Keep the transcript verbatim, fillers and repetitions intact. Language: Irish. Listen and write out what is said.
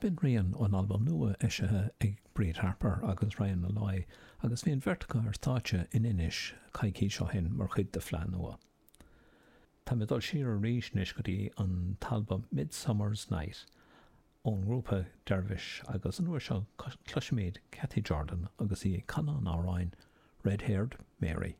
B'in rian ón albam nua eisithe ag Bríd Harper agus Ryan Molloy agus bhí an bheirt acu ar stáitse in Inis coicís ó shin mar chuid de Fleadh Nua. Tá mé ag dul siar arís anois go dtí an t-albam Midsummer's Night ón ngrúpa Dervish agus an uair seo cloisfimid Cathy Jordan agus í ag canadh an amhráin Red Haired Mary.